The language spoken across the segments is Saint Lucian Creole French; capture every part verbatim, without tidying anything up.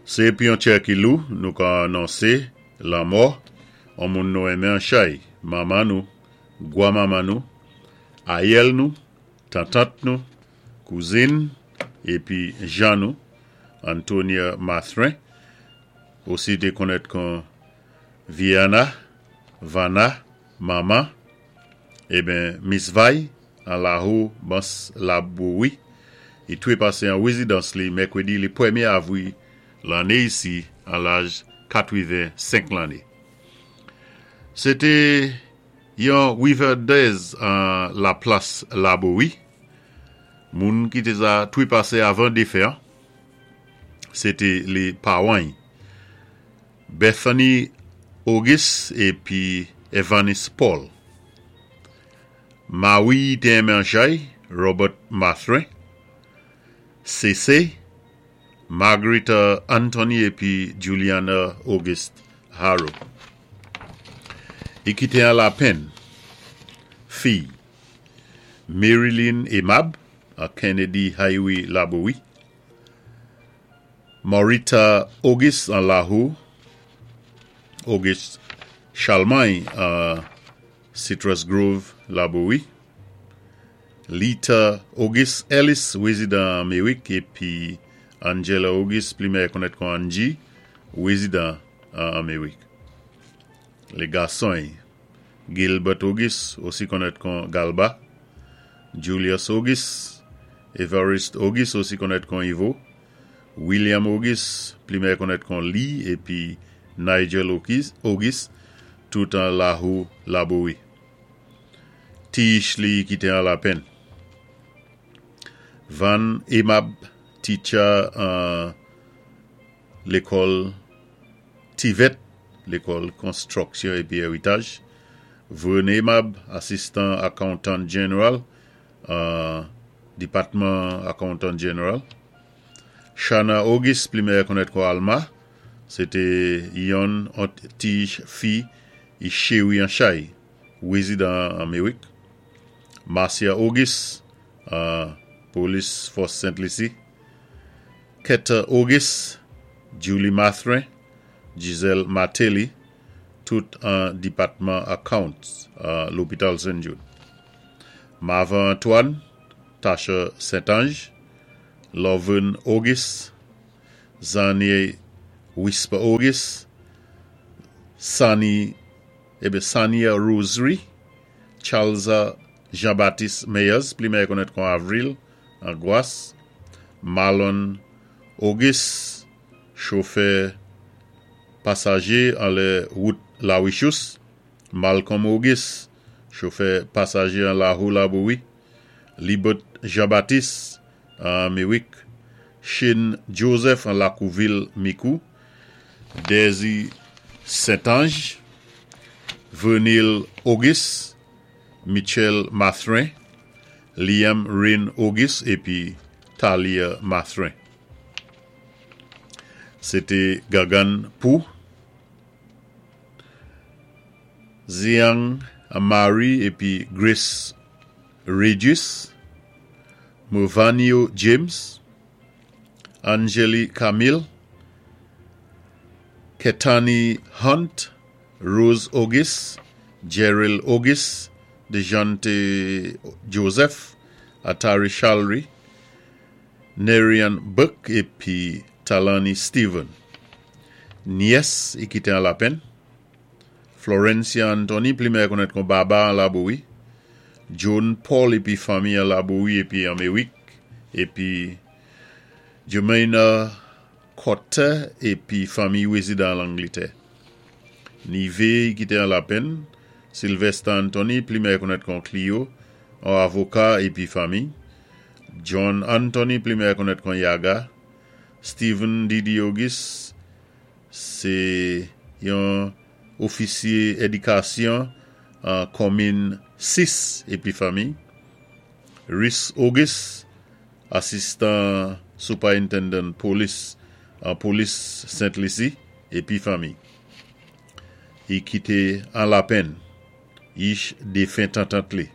Sé pi yon tjè ki lou, nou ka anonsé lanmò, an moun nou enmen anchay, manman nou, gwa manman nou, ayèl nou, tantant nou, kouzin, épi jan nou, Antonia Mathurin, osi té konnèt kon Viana, Vanna, Mama, eben Miss Vay, an Lahou, Bans Labowi, i twépasé an wézidans li mèkwédi lé pwémyé avwi lanné isi an laj katwiven-senk lanné. Sé té yon wivèdèz an la plas Labowi, moun ki té za twépasé avan défen an, sé té lé pawan Bethany Auguste épi Evanis Paul. Mawi té enmen anchay, Robert Mathurin, C C, Margarita Anthony épi Juliana Auguste Harrow. I kité an lapenn, fi, Marilyn Aimable, a Kennedy Highway Labowi, Maurita Auguste an Lahou, Auguste Charlemagne a Citrus Grove Labowi, Lita Auguste Ellis, wézidan Méwik, épi Angela Auguste, pli mèyè konnèt kon Angie, wézidan an Méwik. Lé gason, Gilbert Auguste, osi konnèt kon Galba, Julius Auguste, Evariste Auguste, osi konnèt kon Ivo, William Auguste, pli mèyè konnèt kon Lee, épi Nigel Auguste, tout an Lahou Labowi. Ti li kité an lapenn. Van Aimable, teacher an lékòl TVET, lékòl konstwiksyon épi éritaj. Vern Aimable, assistant accountant general, an dipatman accountant general. Shana Auguste, pli mèyè konnèt kon Alma, sé té yon ti fi i chéwi anchay, wézidan an Méwik. Marcia Auguste, an Police Force Saint Lucie. Keta Auguste, Julie Mathurin, Giselle Martelly, tout an dipatman accounts an lopital Saint Jude. Marvin Antoine, Tasha Saint-Ange, Lovern Auguste, Zanie Whisper Auguste, Sani, ébé Sania Rosary, Charles Jean-Baptiste Meyers, pli mèyè konnèt kon Avril, an Gwas, Marlon Auguste, chofè pasajé an lé wout La Wichous, Malcolm Auguste, chofè pasajé an Lahou Labowi, Libert Jean-Baptiste, an Méwik, Shane Joseph an Lakouville Mikou, Daisy Saint-Ange, Vernil Auguste, Michel Mathurin, Liam Rain Auguste épi Talia Mathurin. Sé té Gagan Pou, Ziang Amari épi Grace Regis, Movanio James, Angeli Camille, Ketani Hunt, Rose Auguste, Gerald Auguste, Dejante Joseph, Atari Chalry, Nerian Buck épi Talani Steven. Nyès i kité an lapenn. Florencia Anthony, pli mèyè konnèt kon Baba an Labowi. John Paul épi fanmi an Labowi épi an Méwik. Épi Jermaine Cotter épi fanmi wézidan Langlétè. Nivé i kité an lapenn. Sylvester Anthony, pli mèyè konnèt kon Clio, an avoka épi fanmi. John Anthony, pli mèyè konnèt kon Yaga. Stephen Didi Auguste, sé yon ofisyé édikasyon an komin sis épi fanmi. Rhys Auguste, assistant superintendent police an polis Saint Lucie épi fanmi. I kité an lapenn. Ich défen tantant li.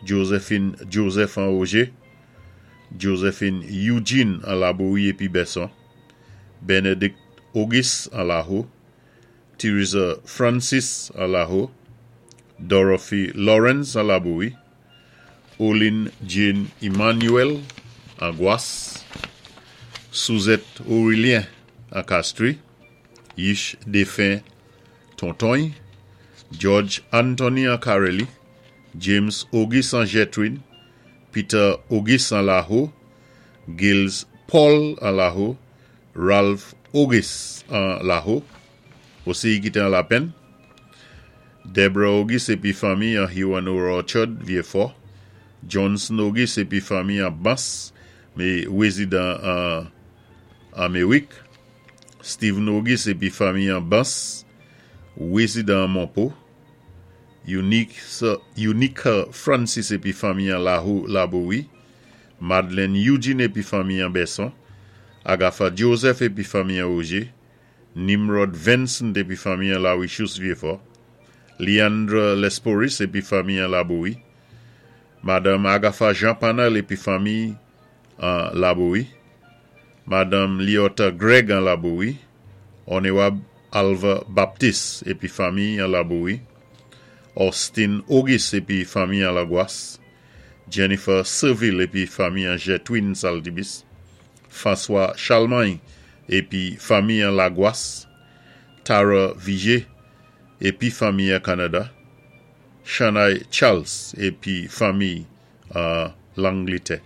Josephine Joseph an Auger, Josephine Eugene an Labowi épi Besson, Benedict Auguste an Laho, Theresa Francis an Laho, Dorothy Lawrence an Laboui, Olin Jane Emmanuel an Gwas, Suzette Aurélien an Castries, Yish défin Tontogne, George Anthony an Careli, James Auguste an Jetwin, Peter Auguste an Laho, Gilles Paul an Laho, Ralph Auguste an Laho, osi ki té an Lapèn, Deborah Auguste épi fanmi an Huron Orchard, Vieux-Fort, Johnson Auguste épi fanmi an Bans, mé wézidan an Améwik, Stephen Auguste épi fanmi an Bans, wézidan an Monpo, Unica Francis épi fanmi an Laho Laboui, Madeleine Eugene épi fanmi an Besson, Agatha Joseph épi fanmi an Auger, Nimrod Vincent épi fanmi an Lawichous Vieux-Fort, Leandra Lesporis épi fanmi an Laboui, Madame Agatha Jean Panel épi fanmi an Laboui, Madame Liota Greg an Laboui, Onewab Alva Baptiste épi fanmi an Laboui, Austin Auguste épi fanmi an Lagwas, Jennifer Seville épi fanmi an Jetwin Saltibus, François Charlemagne épi fanmi an Lagwas, Tara Vigé épi fanmi an Canada, Shanaï Charles épi fanmi an Langlétè.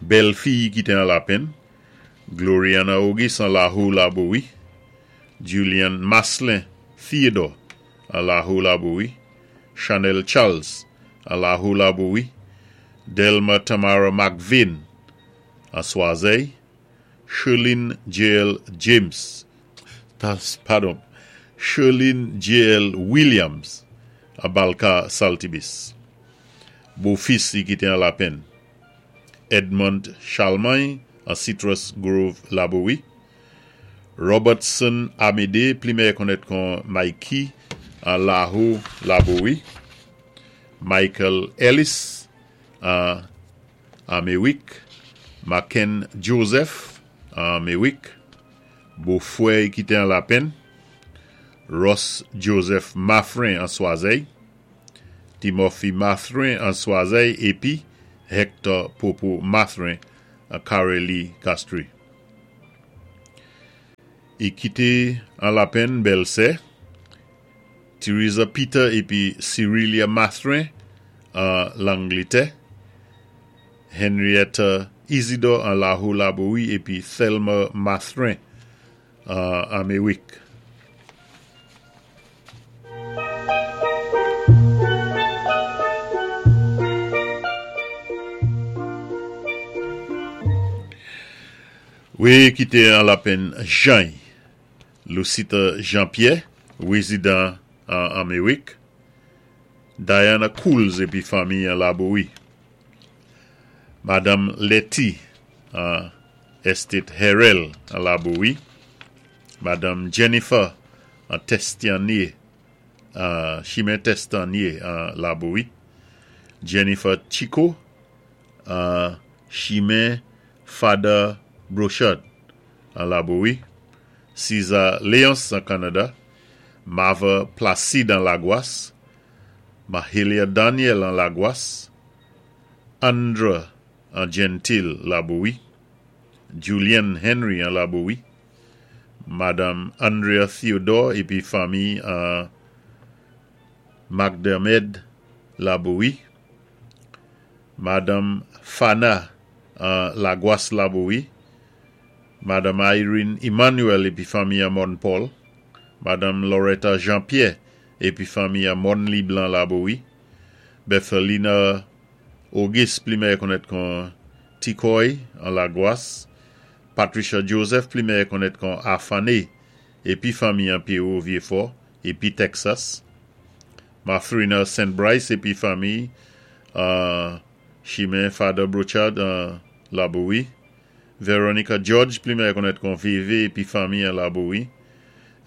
Bèl fi ki té an Lapèn, Gloriana Auguste an Laho Laboui, Julian Maslin Theodore an Laho Laboui, Chanel Charles an Laho Laboui, Delma Tamara McVean an Swazey, Sherlyn J.L. James, padon, Sherlyn J.L. Williams an Balka Saltibus. Bofis ki té an Lapèn, Edmond Charlemagne an Citrus Grove Laboui, Robertson Amédée, pli mèyè konnèt kon Mikey an Laho Laboui, Michael Ellis an Améwik, Maken Joseph an Améwik, Bofwè ki té an Lapèn, Ross Joseph Maffrin an Swazey, Timothy Maffrin an Swazey épi Hector Popo Maffrin an Careli Castries. I kité an Lapèn bèlsè, Theresa Peter épi Cyrilia Maffrin an Langlétè, Henrietta Isidore an Laho Laboui épi Thelma Maffrin an Améwik. Wi, ki té an Lapèn Jean, Lucita Jean-Pierre, wézidan an Améwik, Diana Cools épi fanmi an Laboui, Madame Letty an Estate Herel an Laboui, Madame Jennifer an Testianier, an Chimen Testanier an Laboui, Jennifer Chico an Chimen Father Brochard an Laboui, César Léonce an Canada, Mava Placide an Lagwas, Mahalia Daniel an Lagwas, Andra an Gentil Laboui, Julian Henry an Laboui, Madame Andrea Theodore épi fanmi an McDermid Laboui, Madame Fana an Lagwas Laboui, Madame Irene Emmanuel épi fanmi an Mon Paul, Madame Loretta Jean-Pierre épi fanmi an Mon Blanc Laboui, Bethelina Auguste pli mèyè konnèt kon Tikoy an Lagwas, Patricia Joseph pli mèyè konnèt kon Afane épi fanmi an Pierrot Vieux-Fort épi Texas, Mathrina Saint Bryce épi fanmi an Chimen Father Brochard an Laboui, Veronica George pli mèyè konnèt kon VV épi fanmi an Laboui,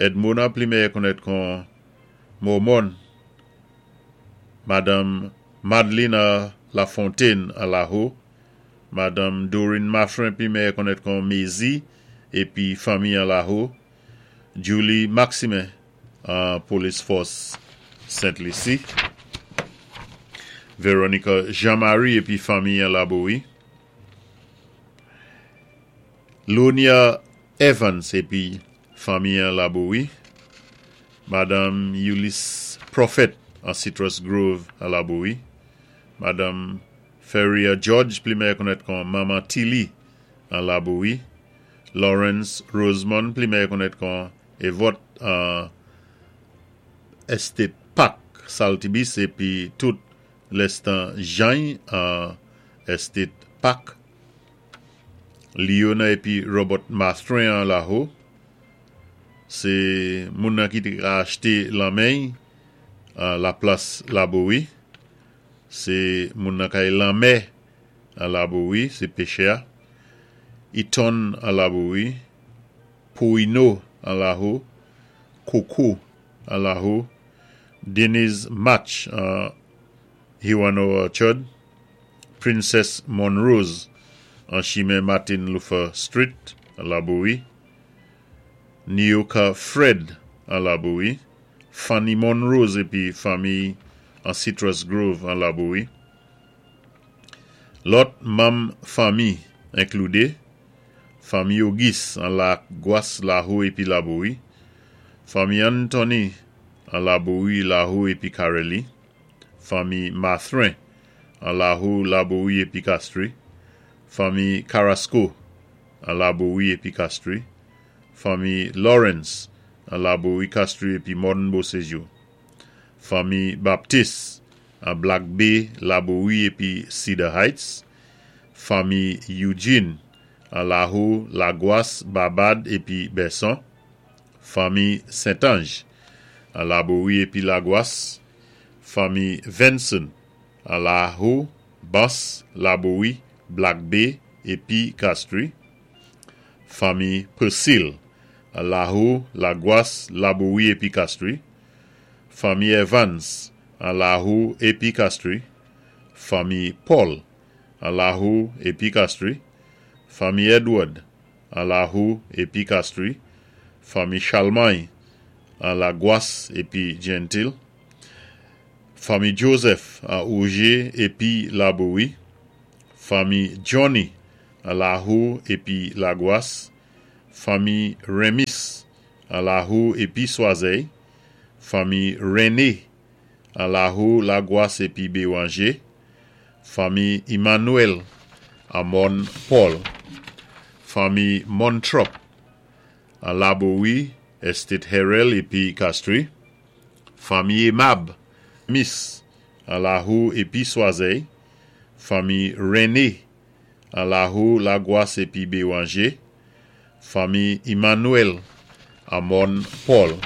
Edmona pli mèyè konnèt kon Mormon, Madame Madelina Lafontaine an Laho, Madame Doreen Maffrin pli mèyè konnèt kon Mézi épi fanmi an Laho, Julie Maximin an Police Force Sainte-Lucie, Veronica Jean-Marie épi fanmi an Laborie, Lonia Evans épi fanmi an Laborie, Madame Ulysse Prophet an Citrus Grove an Laborie, Madame Ferrier George, pli meyè konnèt kon Maman Tilly an Laborie, Lawrence Rosemond, pli meyè konnèt kon Evot an Estate Park, Saltibus, épi tout Lestan Jean an Estate Park, Leona épi Robert Mastrin an Laho, sé moun nan ki té achté lanmè'y an la plas Laborie, sé moun nan kay lanmè an Laborie, sé péchè, Eton an Laborie, Poino an Laho, Coco an Laho, Denise Match an Hiwano Orchard, Princess Monrose an chimen Martin Luther Street an Laborie, Nioka Fred an Laborie, Fanny Monrose épi fanmi an Citrus Grove an Laborie. Lòt manm fanmi enkludé, fanmi Auguste an Lagwas, Laho épi Laborie, fanmi Anthony an Laborie, Laho épi Careli, fanmi Mathrin an Laho, Laborie épi Castries, fanmi Carrasco an Laborie épi Castries, fanmi Lawrence an Laborie, Castries épi Morne Beauséjour, fanmi Baptiste an Black Bay, Laborie épi Cedar Heights, fanmi Eugene an Laho, Lagwas, Babad épi Besson, fanmi Saint-Ange an Laborie épi Lagwas, fanmi Vincent an Laho, Bas, Laborie, Black Bay épi Castries, fanmi Persil an Laho, Lagwas, Laborie épi Castries, fanmi Evans an Laho épi Castries, fanmi Paul an Laho épi Castries, fanmi Edward an Laho épi Castries, fanmi Charlemagne an Lagwas épi Gentil, fanmi Joseph an Auger épi Laborie, fanmi Johnny an Laho épi Lagwas, fanmi Remis an Laho épi Soiseil, fanmi René an Laho, Lagwas épi Béranger, fanmi Emmanuel an Morne Paul, fanmi Montrop an Laborie, Estate Herel épi Castries, fanmi Emab, Miss an Laho épi Soiseil, fanmi René an Laho, Lagwas épi Béranger, fanmi Emmanuel an Morne Paul,